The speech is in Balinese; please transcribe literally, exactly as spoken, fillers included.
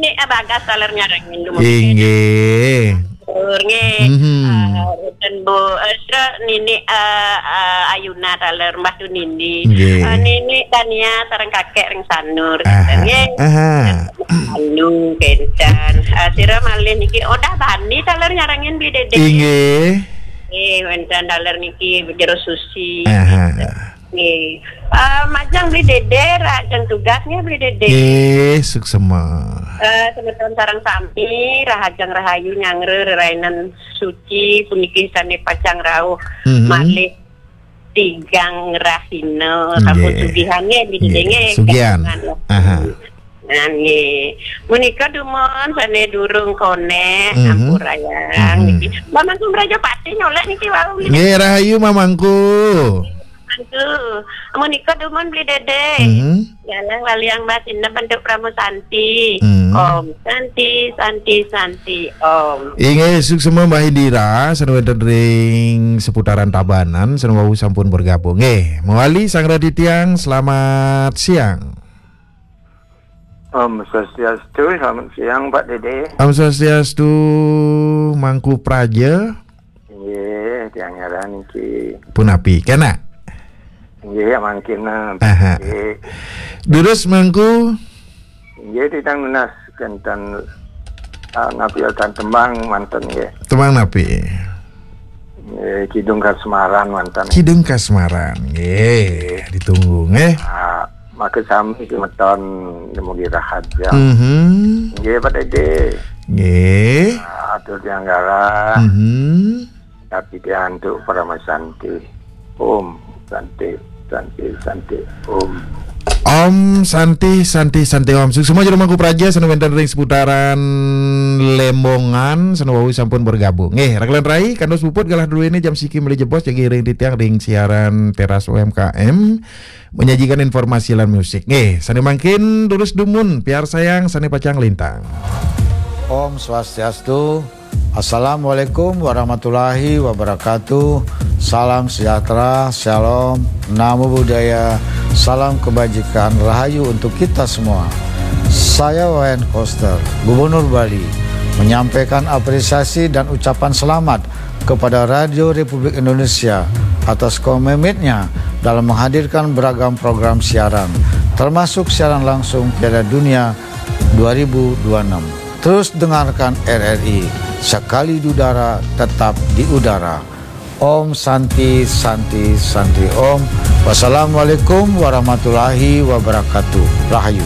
Nek, ah, Bagas taler nyarengin dulu. Inggih. Tur nggih. Mhm. Ah, wonten Bu, eh, sira Nini, eh, eh, Ayuna taler, Mbah Tunindi. Nggih. Eh, Nini Tania sareng kakek ring Sanur. Aha. Nggih. Aha. Anu kenten. Eh, sira malih niki Odah Bani taler nyarengin Bli Dede. Inggih. Nggih, wonten taler niki Jero Susi. Aha. Nggih. Eh, majeng Bli Dede, rahajeng tugas nggih Bli Dede. Nggih, suksema. Eh, semeton sareng sami, rahajeng rahayu nyanggra rerainan suci puniki sane pacang rauh Mhm. malih tigang rahina, sampun Nggih. Sugihan nggih Bli Dede Nggih, nggih. Sugihan. Aha. Nah, nggih. Menika dumun sane durung konek, Mhm. ampurayang Mhm. niki. Mbah Mangku Mrajapati nyolek niki wau. Nggih, rahayu Mamangku. Aduh, menika dumun Bli Dede. Mhm. Galang waliang Mbah Sinep bentuk Pramu Santi. Mhm. Om Santi, Santi, Santi, Om. Inggih, suksema Mbah Indira, sane wonten ring seputaran Tabanan, sane wau sampun bergabung. Nggih, mawali Sang Raditya, selamat siang. Om Swastiastu, selamat siang Pak Dede. Om Swastiastu, Mangku Praja. Nggih, tiang ngaran niki. Punapi, kena? Nggih, ya mangkin, eh, Aha. nggih. Durus Mangku? Nggih, titang nunas kenten, ah, napi wonten tembang manten nggih. Tembang napi? Nggih, Kidung Kasmaran manten. Kidung Kasmaran, nggih, ditunggu nggih. Ah, maka sami semeton dumugi rahaja. Mhm. Nggih, Pak Dede. Nggih. Ah, atur tiang galah. Mhm. Tapi dia antuk Parama Santi. Om Santi, Santi, Santi, Om. Om Santi, Santi, Santi, Om. Suksma jero Mangku Praja sane wonten ring seputaran Lembongan, sane wau sampun bergabung. Nggih, rakelan rai, kandos puput galah duene jam siki meli jebos jagi ring titiang ring siaran Teras U M K M, menyajikan informasi lan musik. Nggih, sane mangkin durus dumun, piarsayang sane pacang lintang. Om Swastiastu. Assalamualaikum warahmatullahi wabarakatuh. Salam sejahtera, shalom, namo buddhaya, salam kebajikan, rahayu untuk kita semua. Saya Wayan Koster, Gubernur Bali, menyampaikan apresiasi dan ucapan selamat kepada Radio Republik Indonesia atas komitmennya dalam menghadirkan beragam program siaran, termasuk siaran langsung Piala Dunia dua ribu dua puluh enam. Terus dengarkan R R I, sekali di udara, tetap di udara. Om Santi, Santi, Santi Om. Wassalamualaikum warahmatullahi wabarakatuh. Rahayu.